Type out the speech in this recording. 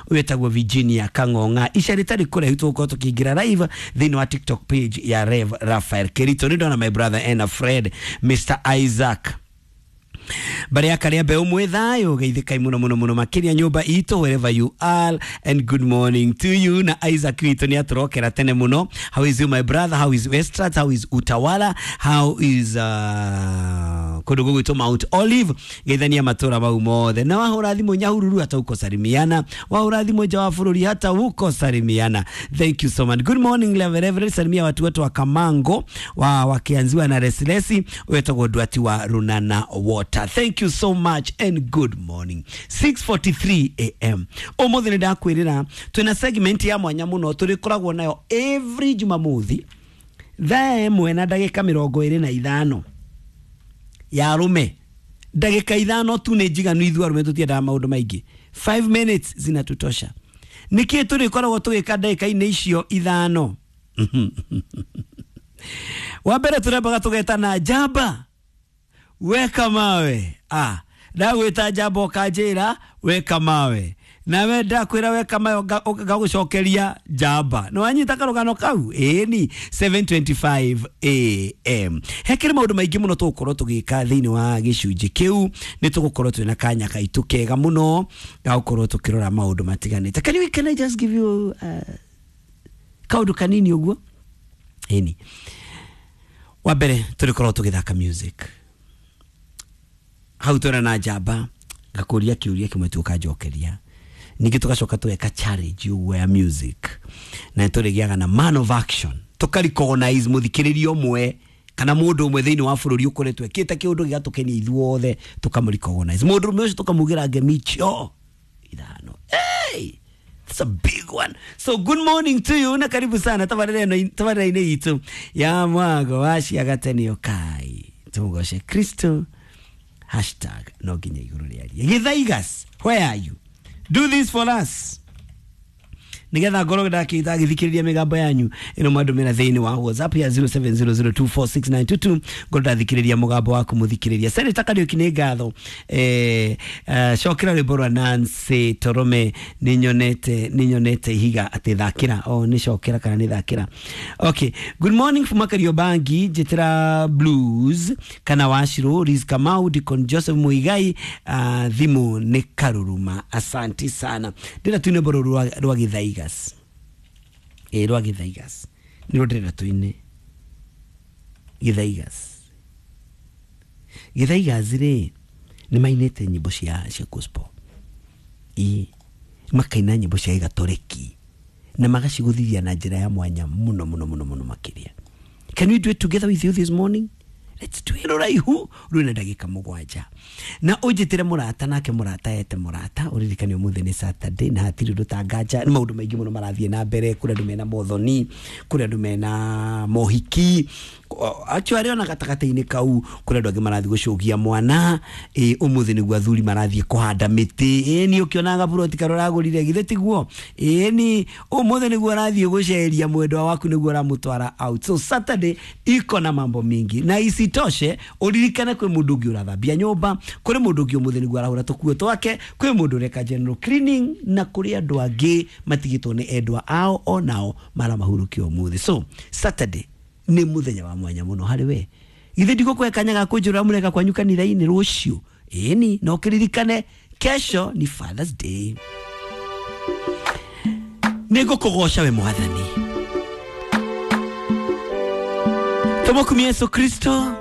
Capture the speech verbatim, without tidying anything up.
Wetagwo Virginia Kang'ong'a. Ica rĩtarĩ kũraihu tũgũkorwo tũkĩingĩra live thĩinĩ wa TikTok page ya Rev Raphael Kerito. Nĩ ndona my brother and a friend Mister Isaac Barĩ ya karĩa mbeũ mwĩ thayũ, geithĩkai mũno mũno mũno makĩria nyũmba itũ wherever you are, and good morning to you. Na Isaac witũ nĩ atũrokera tene mũno. How is you my brother? How is Westrat? How is Utawala? How is uh, kũndũ gũgwĩtwo Mount Olive? Geithania matũra mau mothe. Na wahũra thimũ Nyahururu hata uko salimiana, wahũra thimũ nja wa bũrũri hata uko salimiana. Thank you so much. Good morning Reverend, salimia watu wetu wa Kamango wa wakianziwa na Resilesi wetagwo Ndwati wa Runana Water. Thank you so much and good morning. six forty-three a m. Ũmũthĩ nĩ ndakwĩrĩra twĩna segment ya mwanya mũno tũrĩkoragwo nayo every Jumamothi thaa ĩmwe na ndagĩka mĩrongo ĩrĩ na ithano ya arũme. Ndagĩka ithano tu nĩ njiganu, ithuĩ arũme tũtiendaga maũndũ maingĩ. Five minutes zinatutosha. Nĩkĩĩ tũrĩkoragwo tũgĩka ndagĩka-inĩ icio ithano? Wa mbere tũrembaga tũgetana njamba weka mawe. Ah, ndagwĩta njamba ũkanjĩra weka mawe, nawe ndakwĩra weka mawe ngagũcokeria njamba. Nĩ wanyita karũgano kau? Ĩni seven twenty-five a m. Hekĩrĩ maũndũ maingĩ mũno tũgũkorwo tũgĩka thĩinĩ wa gĩcunjĩ kĩu. Nĩ tũgũkorwo twĩna kanya gaitũ kega mũno ga gũkorwo tũkĩrora maũndũ matiganĩte. Can you, can I just give you uh, kaũndũ kanini ũguo? Ĩni wa mbere tũrĩkorwo tũgĩthaka music hau twĩna na njamba ngakũria kĩũria kĩmwe tu ũkanjokeria, ningĩ tũgacoka tũgeka challenge ũguo ya music, na tũrĩgĩaga na man of action, tũka recognize mũthikĩrĩria ũmwe kana mũndũ ũmwe thĩinĩ wa bũrũri ũkoretwo ekĩte kĩũndũ gĩgatũkenia ithuothe, tũkamũ recognize mũndũ ũmwe ũcio, tũkamugĩra ngemi icio ithano. Hey! It's a big one. So good morning to you na karibu sana tabarĩra-inĩ itũ ya mwago wa ciagatene kai tũmũgoce Kristo hashtag no nginya igũrũ rĩarie. Gĩthaigas, where are you? Do this for us. Nigetha ngorwo ndakĩthikĩrĩria mĩgambo yanyu ĩno mwandũmĩra thĩinĩ wa WhatsApp ya zero seven zero zero two four six nine two two. Ngorwo ndathikĩrĩria mũgambo waku mũthikĩrĩria. Senator Kariuki nĩ ngatho. Eh, uh, cokera rwĩmbo rwa Nancy Torome nĩnyonete nĩnyonete ihiga atĩ thakĩra. Oh, nĩ cokera kana nĩ thakĩra. Okay, good morning from Kariobangi, Njĩtĩra Blues kana Washiro, Riz Kamau, Deacon Joseph Muigai, uh, thimũ nĩ Karuruma. Asante sana. Ndĩra tuine rwĩmbo rwa rwa Gĩthaiga. Ĩ rwa Gĩthaigas nĩ rũndĩrĩra tuine Gĩthaigas. Gĩthaigas rĩ nĩ mainĩte nyĩmbo cia cia gospel, ĩ makaina nyĩmbo cia Gĩgatoreki na magacigũthithia na njĩra ya mwanya mũno mũno mũno mũno makĩria. Can we do it together with you this morning? Let's do it. Rũraihu rwĩna ndagĩka mũgwanja na ũnjĩtĩre mũrata nake mũrata ete mũrata. Ũririkane ũmũthĩ nĩ Saturday na hatirĩ ũndũ ta nganja. Nĩ maũndũ maingĩ mũno marathiĩ na mbere. Kũrĩ andũ mena mothoni, kũrĩ andũ mena mohiki, actually ona gatagatĩ-inĩ kau kũrĩ andũ angĩ marathiĩ gũcũgia mwana. Ĩ ũmũthĩ nĩguo athuri marathiĩ kũhanda mĩtĩ. Ĩ ni ũkĩonaga buroti karĩa ũragũrire githĩ tiguo? Ĩ ni ũmũthĩ nĩguo ũrathiĩ gũceria mwendwa waku, nĩguo ũramũtwara out. So Saturday iko na mambo mingi, na isitoshe ũririkane kwĩ mũndũ ũngĩ ũrathambia nyũmba, kũrĩ mũndũ ũngĩ ũmũthĩ nĩguo arahũra tũkuo twake, kwĩ mũndũ ũreka general cleaning, na kũrĩ andũ angĩ matigĩtwo nĩ endwa ao onao maramahurũkia ũmũthĩ. So Saturday nĩ mũthenya wa mwanya mũno harĩ we. Githĩ ndigũkũhe kanya ga kũnjũra mũreka kwanyu kanitha-inĩ rũciũ? Ĩni no kĩririkane kesho ni Father's Day. Nĩngũkũgoca we Mwathani. Tũmũkumie Yesu Kristo.